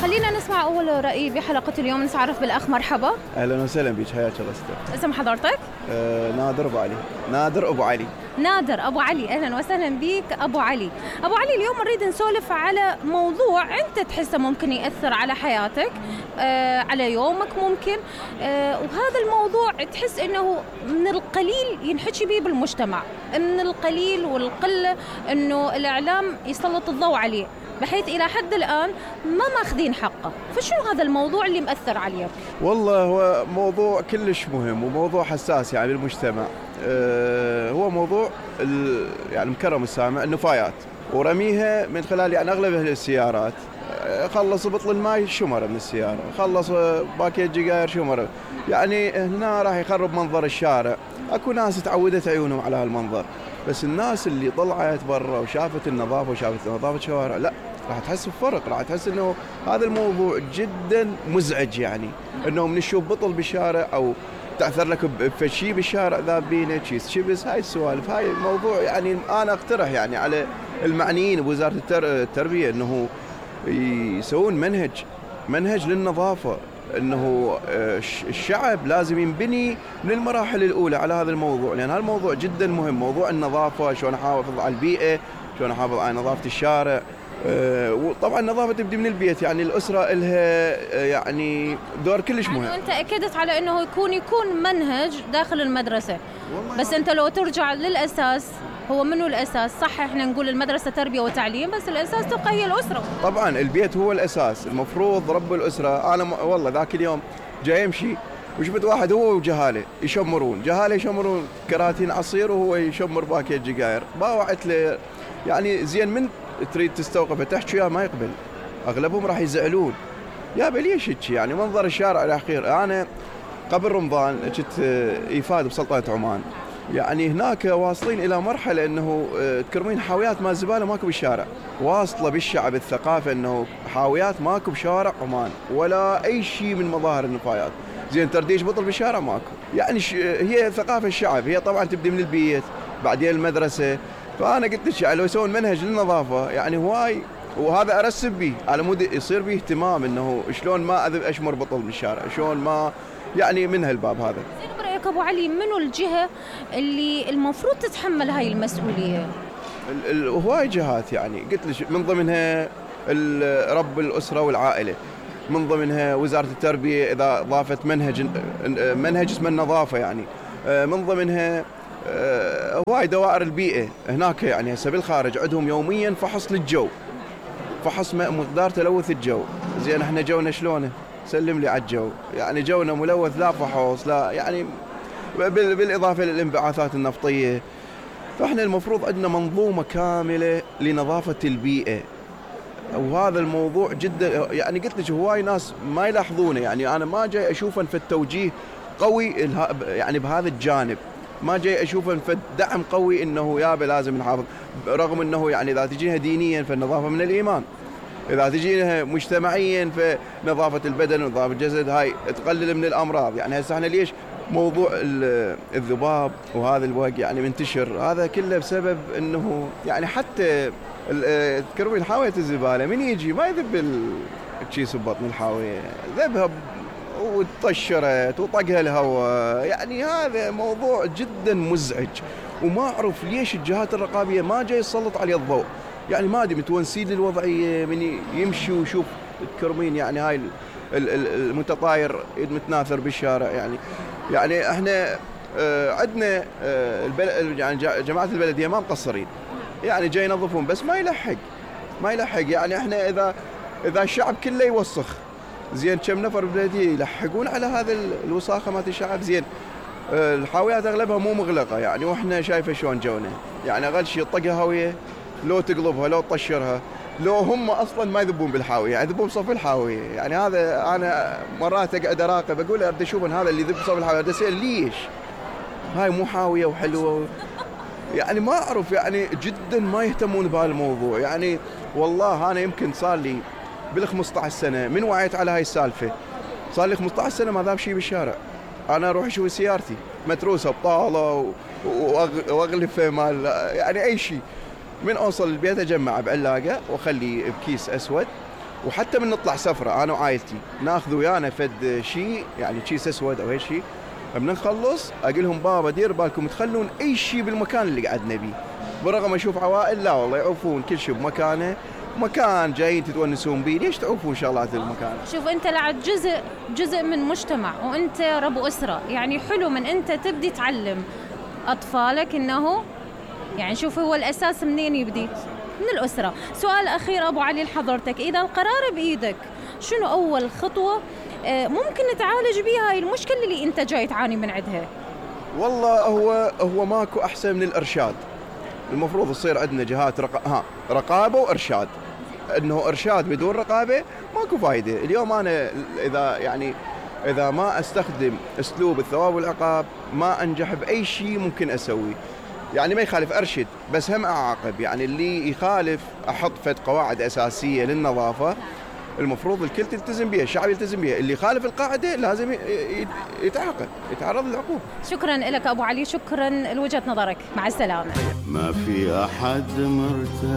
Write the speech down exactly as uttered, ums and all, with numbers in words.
خلينا نسمع أول رأي بحلقة اليوم. نتعرف بالأخ. مرحبا. أهلا وسهلا بك، حياك الله ستر. اسم حضرتك؟ آه نادر أبو علي. نادر أبو علي. نادر أبو علي، أهلا وسهلا بك أبو علي. أبو علي، اليوم نريد نسولف على موضوع أنت تحسه ممكن يأثر على حياتك، آه على يومك ممكن، آه وهذا الموضوع تحس أنه من القليل ينحكي به بالمجتمع، من القليل والقلة أنه الإعلام يسلط الضوء عليه، بحيث إلى حد الآن ما ماخذين حقه. فشو هذا الموضوع اللي مأثر عليك؟ والله هو موضوع كلش مهم وموضوع حساس يعني بالمجتمع. أه هو موضوع يعني مكرم السامع النفايات ورميها من خلال يعني أغلب أهل السيارات. خلص بطل الماي شمرة من السيارة، خلص باكيت جيجاير شمرة، يعني هنا راح يخرب منظر الشارع. أكو ناس تعودت عيونهم على هالمنظر، بس الناس اللي طلعت برا وشافت النظافة وشافت نظافة الشوارع لا، راح تحس بفرق، راح تحس انه هذا الموضوع جدا مزعج. يعني انه من تشوف بطل بالشارع او تعثر لك بشيء بالشارع ذابينه كيس شبس، هاي السوالف، هاي الموضوع يعني انا اقترح يعني على المعنيين بوزارة التربية انه يسوون منهج منهج للنظافة، انه الشعب لازم ينبني من المراحل الاولى على هذا الموضوع، لان هذا الموضوع جدا مهم، موضوع النظافة، شلون احافظ على البيئة، شلون احافظ على نظافة الشارع. وطبعا النظافة تبدي من البيت، يعني الأسرة لها يعني دور كلش مهم. يعني أنت أكدت على أنه يكون يكون منهج داخل المدرسة، بس أنت لو ترجع للأساس، هو منو الأساس؟ صح احنا نقول المدرسة تربية وتعليم، بس الأساس تبقى هي الأسرة. طبعا البيت هو الأساس، المفروض رب الأسرة. أنا والله ذاك اليوم جاي يمشي وشفت واحد هو وجهاله يشمرون، جهاله يشمرون كراتين عصير وهو يشمر باكيت جيجاير. باوعت له يعني زين من تريد تستوقفه تحكي يا ما يقبل، اغلبهم راح يزعلون. يا ليش هيك يعني منظر الشارع الاخير. انا قبل رمضان كنت ايفاد بسلطنة عمان، يعني هناك واصلين الى مرحله انه تكرمين حاويات مال زباله ماكو بالشارع، واصله بالشعب الثقافه انه حاويات ماكو بشارع عمان ولا اي شيء من مظاهر النفايات. زين ترديش بطل بالشارع ماكو، يعني هي ثقافه الشعب، هي طبعا تبدي من البيت بعدين المدرسه. فانا قلت لك يعني لو يسوون منهج للنظافه يعني هواي، وهذا ارسب به على مود يصير به اهتمام انه شلون ما اذب اشمر بطل بالشارع، شلون ما يعني من هالباب هذا. زين برايك ابو علي، منو الجهه اللي المفروض تتحمل هاي المسؤوليه؟ هواي جهات، يعني قلت لك من ضمنها رب الاسره والعائله، من ضمنها وزاره التربيه اذا ضافت منهج منهج اسمه النظافه، يعني من ضمنها هواي دوائر البيئة هناك، يعني هسه بالخارج عندهم يوميا فحص للجو، فحص مقدار تلوث الجو. زين احنا جونا شلونه؟ سلم لي على الجو، يعني جونا ملوث، لا فحوص لا، يعني بالإضافة للانبعاثات النفطية. فاحنا المفروض عندنا منظومة كاملة لنظافة البيئة، وهذا الموضوع جدا يعني قلت لك هواي ناس ما يلاحظونه. يعني انا ما جاي اشوفه في التوجيه قوي يعني بهذا الجانب، ما جاي اشوفه في دعم قوي انه يابا لازم نحافظ، رغم انه يعني اذا تجيها دينيا فالنظافه من الايمان، اذا تجيها مجتمعيا فنظافه البدن ونظافه الجسد هاي تقلل من الامراض. يعني هسه احنا ليش موضوع الذباب وهذا الوق يعني منتشر؟ هذا كله بسبب انه يعني حتى تكرمين حاويه الزباله من يجي ما يذب الكيس ببطن الحاويه، ذبها وتطشرت وطقها الهواء. يعني هذا موضوع جدا مزعج، وما أعرف ليش الجهات الرقابية ما جاي يسلط عليه الضوء. يعني ما أدري متونسين للوضعية، من يمشي ويشوف تكرمين يعني هاي المتطاير متناثر بالشارع. يعني يعني احنا عندنا يعني جماعة البلدية ما مقصرين، يعني جاي ينظفون بس ما يلحق ما يلحق. يعني احنا إذا إذا الشعب كله يوسخ، زين كم نفر بالبلدية يلحقون على هذا الوساخة مالت الشعب؟ زين الحاويات اغلبها مو مغلقة، يعني واحنا شايفة شلون جونا، يعني اقل شيء طقها هاوية، لو تقلبها لو تطشرها، لو هم اصلا ما يذبون بالحاوية يعني يذبون بصف الحاوية. يعني هذا انا مرات اقعد اراقب اقول ابدا اشوف هذا اللي يذب بصف الحاوية، اسال ليش هاي مو حاوية وحلوة؟ يعني ما اعرف، يعني جدا ما يهتمون بهالموضوع. يعني والله انا يمكن صار لي بال خمسة عشر سنة من وعيت على هاي السالفة، صار لي خمسة عشر سنة ما ذاب شيء بالشارع. أنا أروح أشوف سيارتي متروسة بطالة وأغلفة مال يعني أي شيء، من أوصل البيت أجمع بعلاقة وأخلي بكيس أسود وحتى من نطلع سفره انا وعائلتي ناخذ ويانا فد شيء يعني كيس اسود او هيك شيء، من نخلص اقول لهم بابا دير بالكم تخلون اي شيء بالمكان اللي قعدنا بيه، بالرغم اشوف عوائل لا والله يعوفون كل شيء بمكانه، مكان جايين تتونسون بيه، ليش تعوفون شغلات المكان؟ شوف انت لعد جزء جزء من مجتمع وانت رب اسره، يعني حلو من انت تبدي تعلم اطفالك انه يعني شوف هو الاساس منين يبدي؟ من الاسره. سؤال اخير ابو علي لحضرتك، اذا القرار بايدك شنو اول خطوه ممكن نتعالج بها هاي المشكله اللي انت جاي تعاني من عندها؟ والله هو هو ماكو احسن من الارشاد. المفروض يصير عندنا جهات رق... ها رقابه وارشاد. انه ارشاد بدون رقابه ماكو فايده. اليوم انا اذا يعني اذا ما استخدم اسلوب الثواب والعقاب ما انجح باي شيء ممكن اسويه. يعني ما يخالف ارشد بس هم اعاقب، يعني اللي يخالف احط فد قواعد اساسيه للنظافه المفروض الكل تلتزم بها، الشعب يلتزم بها، اللي يخالف القاعده لازم يتعاقب، يتعرض للعقوبه. شكرا لك ابو علي، شكرا لوجهه نظرك، مع السلامه. ما في احد مرتاح